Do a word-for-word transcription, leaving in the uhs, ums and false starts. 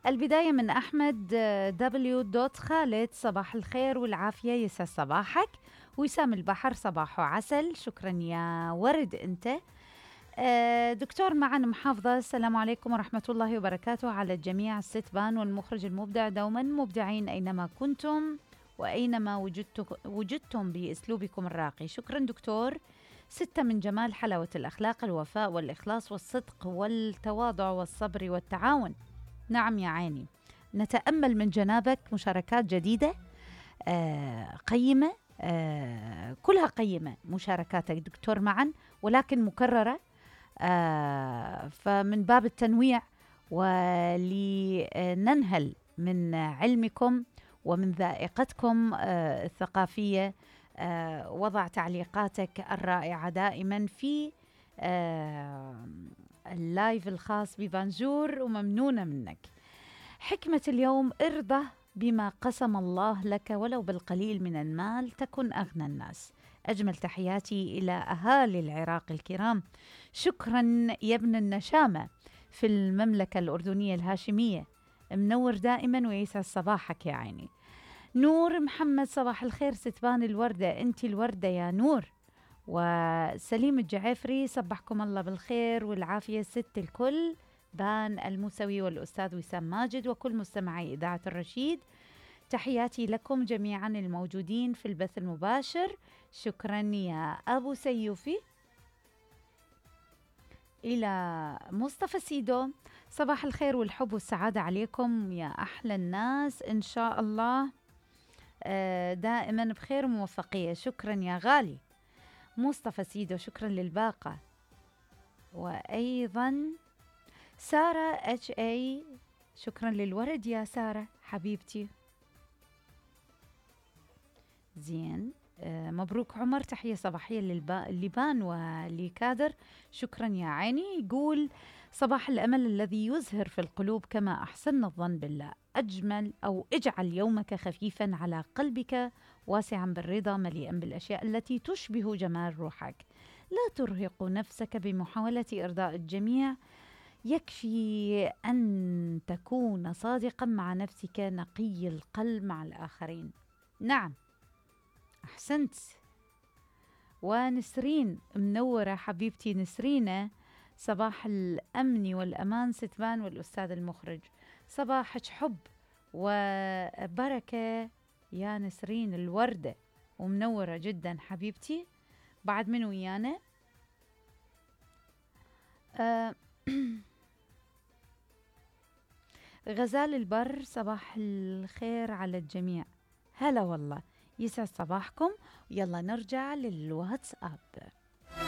البداية من أحمد دبليو دوت خالد، صباح الخير والعافية، يسعد صباحك. وسام البحر، صباحه عسل، شكرا يا ورد أنت. آه، دكتور معن محافظة، السلام عليكم ورحمة الله وبركاته على الجميع، الستبان والمخرج المبدع دوما مبدعين أينما كنتم وأينما وجدت وجدتم بأسلوبكم الراقي. شكرا دكتور. ستة من جمال حلاوة الأخلاق، الوفاء والإخلاص والصدق والتواضع والصبر والتعاون. نعم يا عيني، نتأمل من جنابك مشاركات جديدة آه قيمة، آه كلها قيمة مشاركاتك دكتور معا، ولكن مكررة، آه فمن باب التنويع ولننهل من علمكم ومن ذائقتكم آه الثقافية. آه وضع تعليقاتك الرائعة دائما في آه اللايف الخاص ببانجور، وممنونة منك. حكمة اليوم: ارضى بما قسم الله لك ولو بالقليل من المال تكن أغنى الناس. أجمل تحياتي إلى أهالي العراق الكرام. شكرا يا ابن النشامة في المملكة الأردنية الهاشمية، منور دائما ويسعد صباحك يا عيني. نور محمد، صباح الخير ستبان الوردة، أنت الوردة يا نور. وسليم الجعفري، صبحكم الله بالخير والعافية ست الكل، بان الموسوي والأستاذ وسام ماجد وكل مستمعي إذاعة الرشيد. تحياتي لكم جميعا الموجودين في البث المباشر. شكرا يا أبو سيوفي. إلى مصطفى سيدو، صباح الخير والحب والسعادة عليكم يا أحلى الناس، إن شاء الله دائما بخير وموفقية. شكرا يا غالي مصطفى سيدو، شكرا للباقة. وأيضا سارة اتش اي، شكرا للورد يا سارة حبيبتي. زين، آه مبروك عمر، تحية صباحية للبان ولكادر، شكرا يا عيني. يقول: صباح الأمل الذي يزهر في القلوب كما أحسن الظن بالله، أجمل أو اجعل يومك خفيفا على قلبك، واسعا بالرضا، مليئا بالأشياء التي تشبه جمال روحك. لا ترهق نفسك بمحاولة إرضاء الجميع، يكفي أن تكون صادقا مع نفسك، نقي القلب مع الآخرين. نعم، أحسنت. ونسرين منورة حبيبتي نسرينة، صباح الأمن والأمان ستبان والأستاذ المخرج، صباحك حب وبركة يا نسرين الوردة، ومنورة جدا حبيبتي. بعد من ويانا آه غزال البر، صباح الخير على الجميع. هلا والله، يسعد صباحكم. يلا نرجع للواتساب.